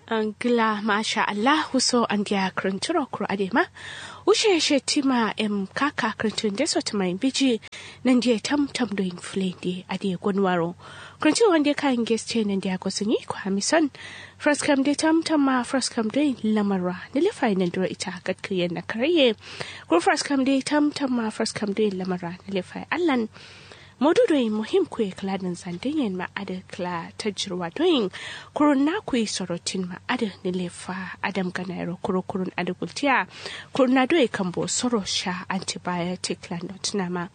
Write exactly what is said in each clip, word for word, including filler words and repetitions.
Ngla masha allahu so andiya kǝrǝnturo kuro adai ma. Wushe shettima em kaka kǝrǝntun de so tǝmayin biji. Nandiye tam tam doyin fǝlende adai gonwaro. Kǝrǝntun wande kayin geste nandiya gosǝnyi kwami son. Faraskam de tam tam ma faraskam doyin lamarwa nǝlefaye nandiro ita katkǝyen na karaiye. Kuro faraskam de tam tam ma faraskam doyin lamarwa nǝlefaye allan. Modu doyin muhim kuye kǝla dǝnzan dǝnyen ma adǝ kǝla tajirwa doyin. Kurun na kuyi sorotin ma adǝ nǝlefa adam ganayero kuro kurun adǝ gultiya. Kurun na doye kambo soro sha antibiotic la notǝna ma.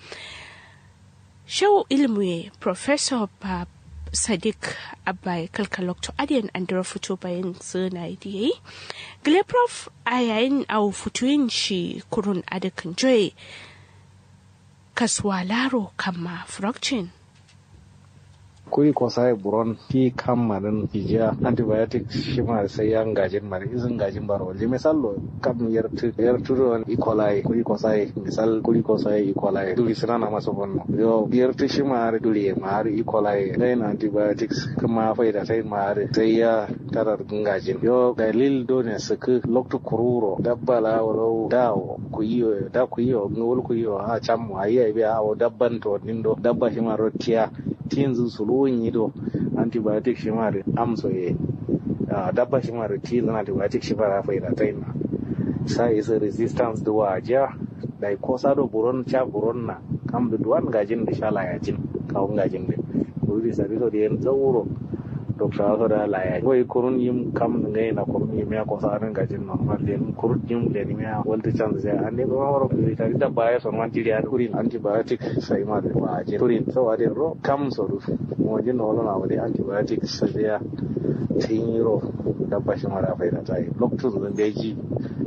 Shau ilmuye professor ba sadik abbaye kalkalokto adiyen andiro futu bayin sǝnayi diyeyi. Gile prof ayayin au futuyin shi kurun adǝ kǝnjoye. Kasuwa laro kamma frokcin. Kuri kosaye buron ti kamma dǝn fijiya antibiotic shima sai ya ngajin mare izin ngajin baro walji misal lo kam yartǝ yartǝ do ikolaye kuri kosaye misal kuri kosaye ikolaye duri sǝnana maso bonno yo yartǝ shima are duri ye ma are ikolaye ngayin antibiotics kǝma faida sai ma are sai ya tarar ngajin yo dalil done sǝkǝ loktu kururo dabba la wuro dawo kuyiyo da kuyiyo ngawul kuyiyo a cammo ayi ayi biya awo dabban to nindo dabba shima ro tiya tinzǝ suluwun nyido antibiotic shima dǝ amso ye. Dabba shima dǝ tinzǝ antibiotic shima dǝ a faida tayin na. Sa isǝ resistance dǝ wajiya. Dai kosa do buron ca buron na kam dǝ duwan ngajin dǝ sha layajin kawu ngajin dǝ. Kuru dǝ sabi so dǝ yen zauro. Dokta so da layajin wai kurun yim kam dǝ ngai na kurun yim ya kosa dǝ ngajin normal dǝ yen kurun yim lenimiya waltǝ canzǝ sai ande kuma wuro kuri tari dabba ya son man jiri ya dǝ kurin antibiotic sai ma dǝ wajiya kurin so adǝ ro kam so dǝ. Mojin no wolo na wuri antibiotic sai ya. Tin yiro dabba shima dǝ a faida tayi loktu dǝ mbeji.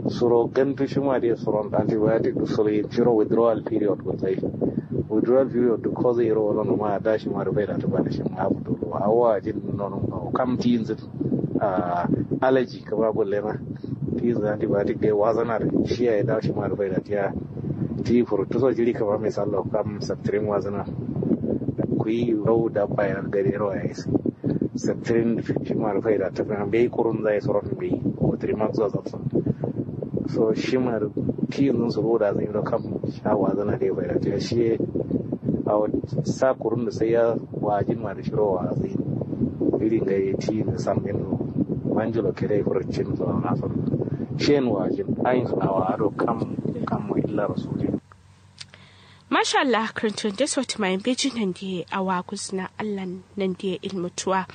Suro gantu shima dǝ suron antibiotic dǝ suro yin shiro withdrawal period gulzai. Withdrawal period dǝ koza yiro wolo no ma da shima dǝ faida tǝ bana shima abu dolo awo ajin nono kam tinzǝ. Allergy kǝma gullena. Tinzǝ antibiotic dai wazana dǝ shiya ye da shima dǝ faida tiya. Ti furuttu so jiri kǝma misallo kam septrin wazana. Kuyi rau dabba ye gade ro ya isi. Septrin shima dǝ faida tǝ fina mbeyi kurun zai suron mbeyi. Otrimaxo zafsa. So shima dǝ tinzǝ suro da zai ro kam sha wazana dai faida tiya shiye. Awo sa kurun dǝ sai ya wajin ma dǝ shiro wazin. Iri ngai ti dǝ sammin no manjilo kere furcin so na so. Shen wajin ayin so awa ado kam kam mo illa rasulin. Mashallah kǝrǝntun de so tǝmayin beji nandiye awa guzǝna allan nandiye ilmutuwa.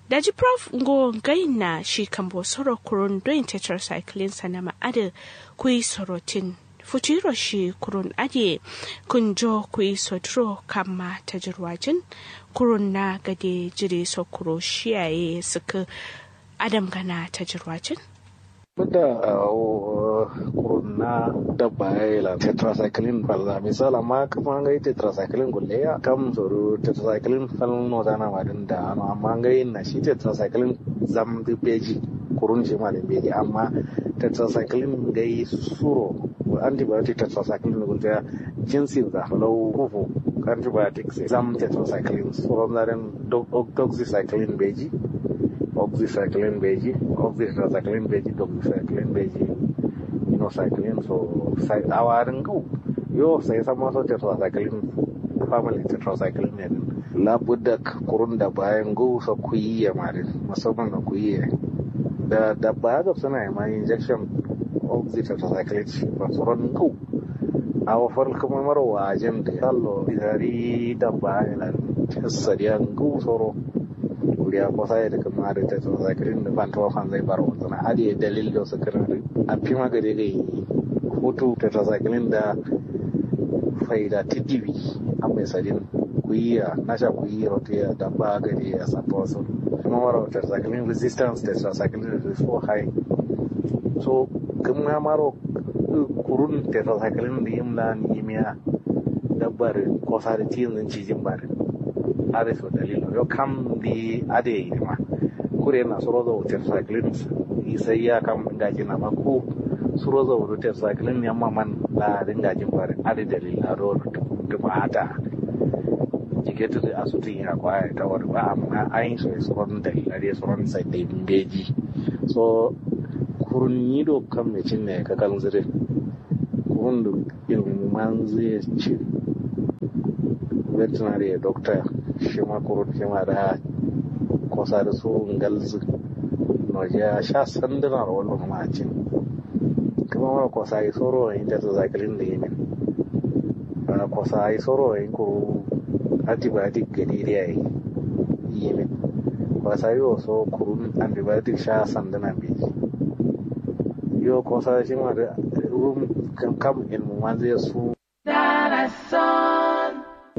Daji prof ngo ngayin na shi kambo soro kurun doyin tetracycline sanama adǝ kuyi sorotin. Futuro shi kurun adǝ ye kǝnjo kuyi soduro kamma tajirwajin. Kurun na gade jiri so kuro shiya ye sǝkǝ. Adam gana tajirwajin. Bǝda awo kurun na dabba ya ye la tetracycline falza misal amma kǝma ngai tetracycline gulleya kam sodu tetracycline fal nozana ma dǝn da ano amma ngai na shi tetracycline zam dǝ beji. Kurun shima dǝ beji amma tetracycline ngai suro antibiotic tetracycline gulleya. Jinsin za lau kufu antibiotic sai zam tetracycline suron zaren doxycycline beji. Oxycycline beji oxytetracycline beji doxycycline beji. Minocycline so awarin gau yo sai sama so tetracycline family tetracycline ne din. Labudda kurun da bayan gau so kuyi ya ma din musamman na kuyi ya. Da dabba ya gabsana ya ma injection oxytetracycline shi ba suron gau. Awo fal kǝma maro wajin dǝ allo bisari dabba ilan. Sadiya ngǝw soro. Kuriya kosa ye dǝ kǝma dǝ tetracycline dǝ fantǝma fanzai baro wulzǝna adǝ ye dalil do sǝkkǝrǝn dǝ. Affi ma gade gai. Futu tetracycline da faida tǝdiwi. Amma ye sadin kuyi ya nasha kuyi rotiya dabba gade ya sattowa so. Kǝma maro tetracycline resistance tetracycline dǝ so high. So kǝma maro kurun tetracycline dǝ yim lan yimiya. Dabba dǝ kosa dǝ tinzǝn cijin ba dǝ. Adǝ so dalil no yo kam dǝ adǝ ye yima. Kure na suro zau tetracycline. Isai ya kam ngajin amma ku suro zau dǝ tetracycline yamma man la dǝ ngajin ba dǝ adǝ dalil ado. Dǝ ma ata. Jiketu dǝ asutu nya kwa ya tawar ba amma ayin so ya suron dalila dai suron sai dai mbeji. So kurun nyi do kam me cin ne kakal nzire. Kurun do ilmu manzu ya cin. Veterinary ya doctor shima kurun shima da kosa da su ngalzu. Noja sha sanduna ro wallo ma cin. Kuma mara kosa yi soro yin da zakilin da yimin. Kosa yi soro yin kuru antibiotic gadi da yayi. Yimin. Kosa yi so kurun antibiotic sha sanduna mbeji. Yo kosa shi ma da rum kam ilmu manzu ya su.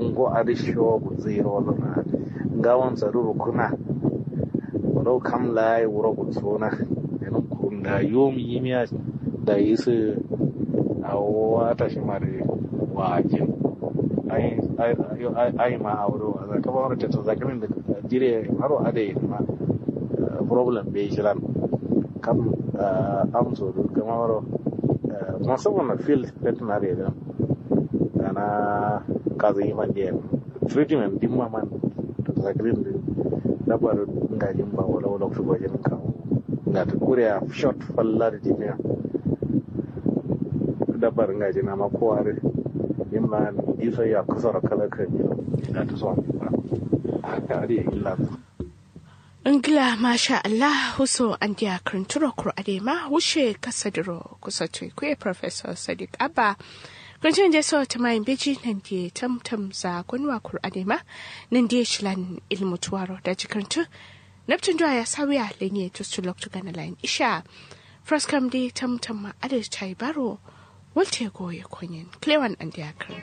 Ngo adǝ shiwo gulzǝ yiro wallona. Ngawon sadǝ rukuna. Wuro kam layi wuro gulsona. Lenum kurun da yom yimiya. Da yisǝ awo wata shima dǝ wajin. Ai ma awo dǝ waza kama wuro teta zakimin dǝ jire maro adǝ yinma. Problem be shilan. Kam amso dǝ kama wuro. Musamman na field. Veterinary dǝ. Gana kazǝ yi fandiya treatment dimma man. Zakirin dǝ. Dabbar ngajin ba wala wala kutu gwajin kawo. Ngata kuriya short falla da jimiya. Dabbar ngajin amma kowa dǝ. Dimma diso ya kusoro kala kan yi. Ngata so ba. Haka adi illa. Ngla masha Allah huso andiya kǝrǝnturo kuro adai ma wushe kasadiro kuso tui kuye professor sadiq abba. Kǝrǝntun de so tǝmayin beji nandi tamtam za gonwa kuro adai ma. Nandi shilan ilmu tuwaro daji kǝrǝntun. Naptun duwa ya sawiya lenye tustu loktu gana layin isha. Fraskam de tamtam ma adai tayi baro. Walte goye konyen klewan andiya kǝrǝn.